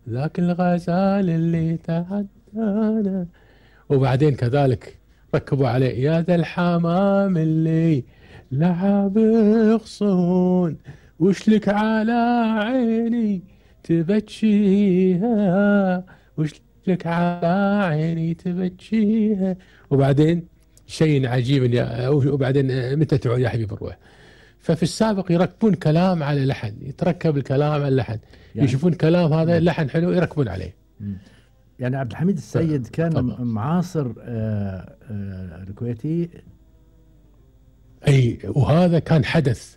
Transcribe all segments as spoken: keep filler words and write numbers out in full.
ذاك الغزال اللي تعدانا. وبعدين كذلك ركبوا عليه يا ذا الحمام اللي لعب غصون، وش لك على عيني تبكيها، وش لك على عيني تبكيها. وبعدين شيء عجيب يا وبعدين متى تعود يا حبيب الروح. ففي السابق يركبون كلام على لحن، يتركب الكلام على اللحن، يعني يشوفون كلام هذا لحن حلو يركبون عليه. يعني عبد الحميد السيد كان طبعا معاصر آه آه الكويتي. اي وهذا كان حدث،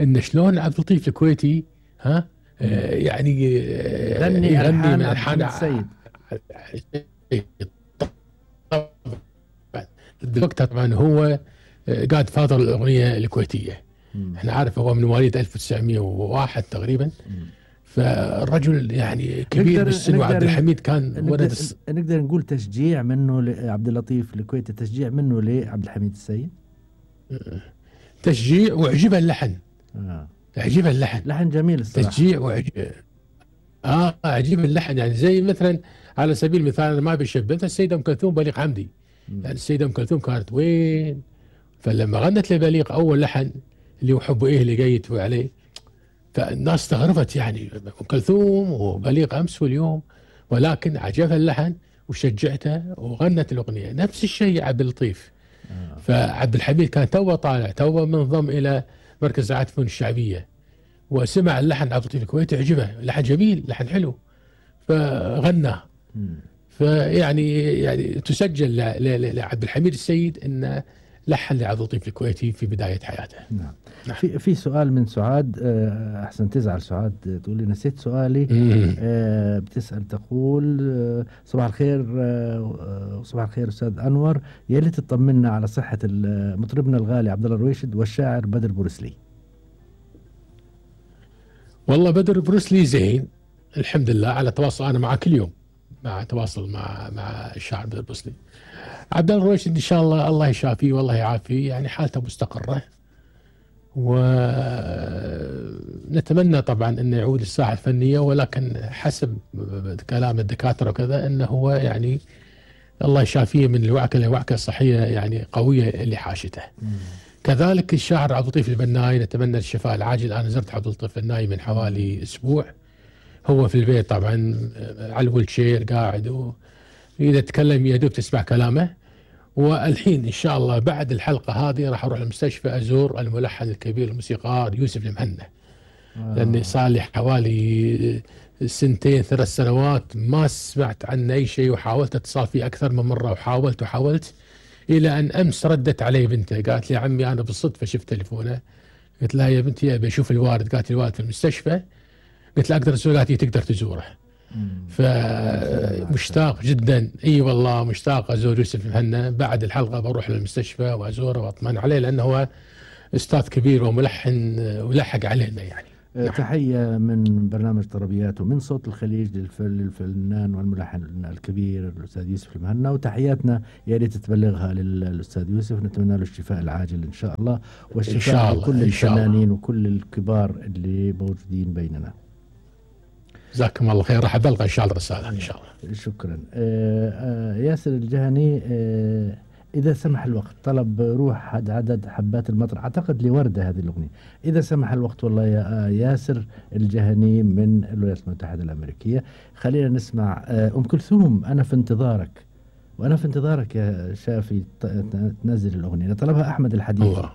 ان شلون عبد اللطيف الكويتي ها آه يعني آه غني الحان عبد الحميد السيد. دلوقتي طبعا هو قاد فاضل الاغنيه الكويتيه. مم. احنا عارف هو من مواليد ألف وتسعمئة وواحد تقريبا. مم. فالرجل يعني كبير بالسن، وعبد الحميد كان ولد. نقدر نقول تشجيع منه لعبد اللطيف الكويتي، تشجيع منه لعبد الحميد السيد. تشجيع وعجبه اللحن. اه عجبه اللحن، لحن جميل الصراحه. تشجيع وعجبه اه عجيب اللحن. يعني زي مثلا على سبيل المثال انا ما بشبه السيده ام كلثوم بليغ حمدي. مم. يعني السيده ام كلثوم كانت وين؟ فلما غنت لبليغ اول لحن اللي هو حب ايه اللي جاي يتوي عليه، فالناس استغربت يعني ام كلثوم وبليغ امس واليوم، ولكن عجبها اللحن وشجعته وغنت الاغنيه. نفس الشيء عبد اللطيف. آه. فعبد الحميد كان توه طالع، توه منضم الى مركز رعايه الفنون الشعبيه، وسمع اللحن عبد اللطيف الكويتي عجبه، لحن جميل، لحن حلو، فغناه. فيعني يعني تسجل لعبد الحميد السيد ان لحن لعبد اللطيف الكويتي في بدايه حياته. نعم. نعم. في في سؤال من سعاد، احسن تزعل سعاد تقول لي نسيت سؤالي. أه بتسال تقول أه صباح الخير، أه صباح الخير استاذ انور، يا ريت تطمنا على صحه مطربنا الغالي عبد الله الرويشد والشاعر بدر بورسلي. والله بدر بروسلي زين الحمد لله، على تواصل انا معه كل يوم، مع تواصل مع مع الشاعر بدر بروسلي. عبد الله الرويشد ان شاء الله الله يشافيه والله يعافيه، يعني حالته مستقره، ونتمنى طبعا انه يعود للساحه الفنيه، ولكن حسب كلام الدكاتره وكذا انه هو يعني الله يشافيه من الوعكه لوعكه صحيه يعني قويه اللي حاشته. مم. كذلك الشاعر عبد اللطيف البناي نتمنى الشفاء العاجل. انا زرت عبد اللطيف البناي من حوالي اسبوع، هو في البيت طبعا على الويلشير قاعد، واذا تكلم يا دوب تسمع كلامه. والحين ان شاء الله بعد الحلقه هذه راح اروح المستشفى ازور الملحن الكبير الموسيقار يوسف المهنا. آه. لاني صار لي حوالي سنتين ثلاث سنوات ما سمعت عنه اي شيء، وحاولت اتصال فيه اكثر من مره، وحاولت وحاولت الى ان امس ردت علي بنته قالت لي عمي انا بالصدفه شفت تليفونه، قلت لها يا بنتي ابي اشوف الوالد، قالت لي الوالد في المستشفى، قلت لها اقدر ازوره، قالت لي تقدر تزوره. فمشتاق جدا، اي والله مشتاق ازور يوسف المهنا. بعد الحلقه بروح للمستشفى وازوره واطمن عليه، لانه هو استاذ كبير وملحن ولحق علينا يعني. نعم. تحيه من برنامج طربيات ومن صوت الخليج للفنان والملحن الكبير الاستاذ يوسف المهنا، وتحياتنا يا ريت تبلغها للاستاذ يوسف، نتمنى له الشفاء العاجل ان شاء الله، والشفاء لكل الفنانين وكل الكبار اللي موجودين بيننا. جزاكم الله خير، راح ابلغ ان شاء الله رساله ان شاء الله. شكرا. آآ آآ ياسر الجهني، اذا سمح الوقت طلب روح عدد حبات المطر، اعتقد لوردة هذه الاغنيه، اذا سمح الوقت والله يا ياسر الجهني من الولايات المتحده الامريكيه. خلينا نسمع ام كلثوم انا في انتظارك. وانا في انتظارك يا شافي تنزل الاغنيه، طلبها احمد الحديث. الله.